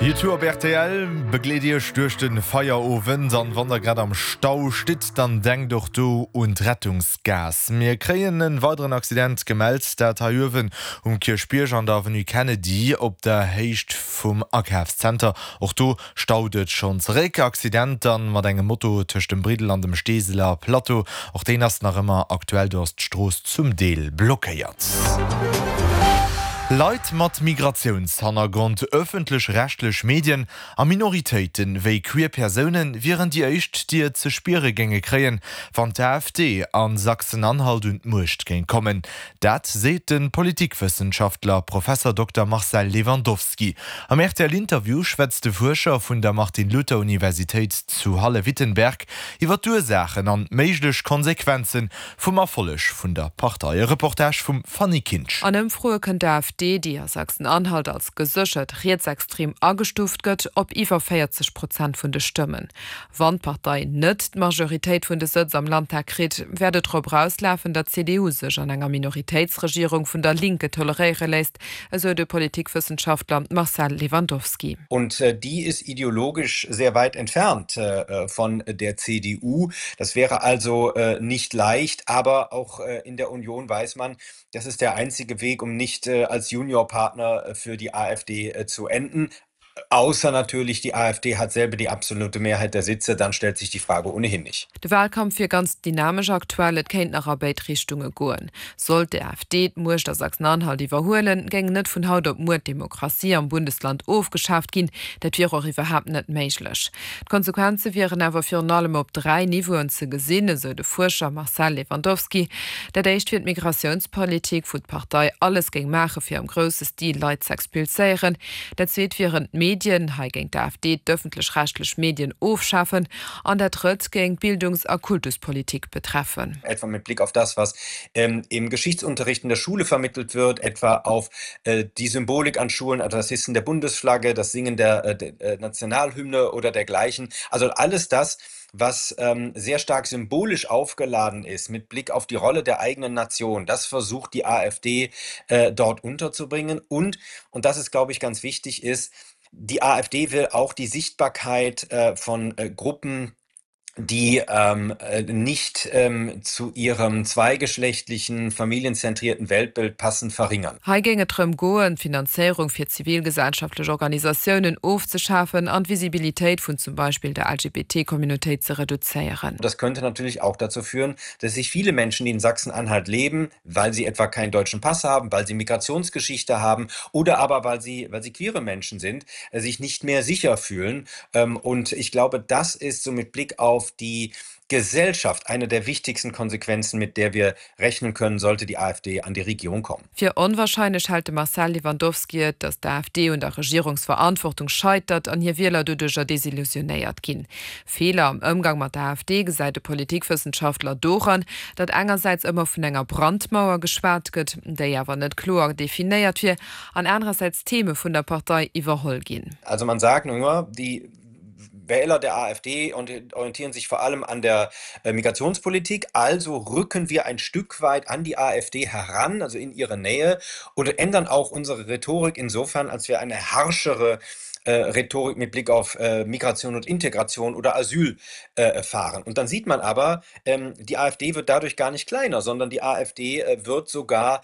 U2 op rtl begleet Iech duerch de Feierowend an wann der grad am Stau stitt, dann denkt och do un d'Rettungsgaass. Mir kréien en weideren Accident gemellt, dat hei uewen um Kierchbierg an der Avenue Kennedy op der Héicht vum Akafszenter. Och do staut et schonn zeréck. Accident dann mat engem Moto tëscht dem Briddel an dem Steeseler Plateau. Och deen ass nach ëmmer aktuell, do ass d'Strooss zum Deel blockéiert. Leit mat Migratiounshannergrond, ëffentlech-rechtlech Medien a Minoritéite wéi queer Persoune wieren déi éischt, déi et ze spiere géinge kréien, wann d'AfD a Sachsen-Anhalt un d'Muecht géing kommen. Dat seet de Politikwëssenschaftler Professer Dokter Marcel Lewandowski. Am RTL-Interview schwätzt de Fuerscher vun der Martin-Luther-Universitéit zu Halle-Wittenberg iwwer d'Ursaachen an méiglech Konsequenze vum Erfolleg vun der Partei. E Reportage vum Fanny Kinsch. An Ëmfroe kënnt d'AfD, déi a Sachsen-Anhalt als geséchert rietsextrem agestuuft gëtt, op iwwer 40 Prozent vun de Stëmmen. Wann d'Partei net d'Majoritéit vun de Sëtz am Landtag kritt, wäert et drop erauslafen, datt d'CDU sech an enger Minoritéitsregierung vun der Linke toleréiere léisst, esou de Politikwëssenschaftler Marcel Lewandowski. Und die ist ideologisch sehr weit entfernt von der CDU. Das wäre also nicht leicht, aber auch in der Union weiß man, das ist der einzige Weg, um nicht als Juniorpartner für die AfD zu enden. Ausser natürlich, die AfD hat selber die absolute Mehrheit der Sitze, dann stellt sich die Frage ohnehin nicht. De Wahlkampf wier ganz dynamesch aktuell, et kéint nach a béid Richtunge goen. Sollt d'AfD d'Muecht a Sachsen-Anhalt iwwerhuelen, géing net vun haut op muer d'Demokratie am Bundesland ofgeschaaft ginn. Dat wier och iwwerhaapt net méiglech. D'Konsequenze wieren awer virun allem op 3 Niveauen ze gesinn, esou de Fuerscher Marcel Lewandowski. Dat éischt wier d'Migratiounspolitik, wou d'Partei alles géing maache fir am grousse Stil Leit z'expulséieren. Dat zweet wieren d'Medien, hei géing d'AfD d'ëffentlech-rechtlech Medien ofschafen. An dat drëtt géing d'Bildungs a Kultuspolitik betreffen. Etwa mit Blick auf das, was im Geschichtsunterricht in der Schule vermittelt wird, etwa auf die Symbolik an Schulen, also das Hissen der Bundesflagge, das Singen der Nationalhymne oder dergleichen. Also alles das, was sehr stark symbolisch aufgeladen ist mit Blick auf die Rolle der eigenen Nation, das versucht die AfD dort unterzubringen. Und, und das ist, glaube ich, ganz wichtig, ist, die AfD will auch die Sichtbarkeit von Gruppen, die ähm, nicht ähm, zu ihrem zweigeschlechtlichen, familienzentrierten Weltbild passen, verringern. Hei géing et drëm goen, d'Finanzéierung fir zivilgesellschaftlech Organisatiounen ofzeschafen an d'Visibilitéit vun zum Beispill der LGBT-Communautéit ze reduzéieren. Das könnte natürlich auch dazu führen, dass sich viele Menschen, die in Sachsen-Anhalt leben, weil sie etwa keinen deutschen Pass haben, weil sie Migrationsgeschichte haben oder aber weil sie, weil sie queere Menschen sind, äh, sich nicht mehr sicher fühlen. Ähm, und ich glaube, das ist so mit Blick auf die Gesellschaft eine der wichtigsten Konsequenzen, mit der wir rechnen können, sollte die AfD an die Regierung kommen. Fir onwahrscheinlech hält de Marcel Lewandowski et, datt d'AfD un der Regierungsverantwortung scheitert an hir Wieler doduercher desillusionéiert ginn. Feeler am Ëmgang mat der AfD gesäit de Politikwëssenschaftler doran, datt engersäits ëmmer vun enger Brandmauer geschwat gëtt, déi awer net kloer definéiert wier, an anerersäits Theme vun der Partei iwwerholl ginn. Also man sagt nur, die Wähler der AfD orientieren sich vor allem an der Migrationspolitik, also rücken wir ein Stück weit an die AfD heran, also in ihre Nähe und ändern auch unsere Rhetorik insofern, als wir eine harschere Rhetorik mit Blick auf Migration und Integration oder Asyl fahren. Und dann sieht man aber, die AfD wird dadurch gar nicht kleiner, sondern die AfD wird sogar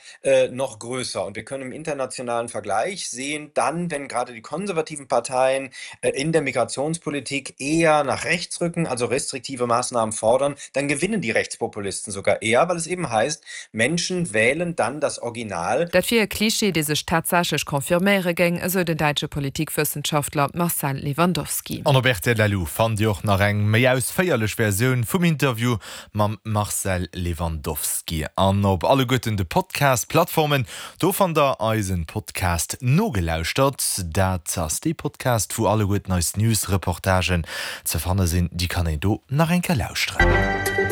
noch größer. Und wir können im internationalen Vergleich sehen, dann, wenn gerade die konservativen Parteien in der Migrationspolitik eher nach rechts rücken, also restriktive Maßnahmen fordern, dann gewinnen die Rechtspopulisten sogar eher, weil es eben heißt, Menschen wählen dann das Original. Dat wier e Klischee, dee sech tatsächlech confirméiere géing, esou den däitsche Politikwëssenschaftler Marcel Lewandowski. An op rtl.lu fannt Dir och nach eng méi ausféierlech Versioun vum Interview mam Marcel Lewandowski. An op alleguerten de Podcast-Plattformen, do fannt der eisen Podcast Nogelauschtert. Dat ass dee Podcast, wou alleguerten eis News-Reportagen ze fanne sinn. Déi kann een do nach eng Kéier lauschteren.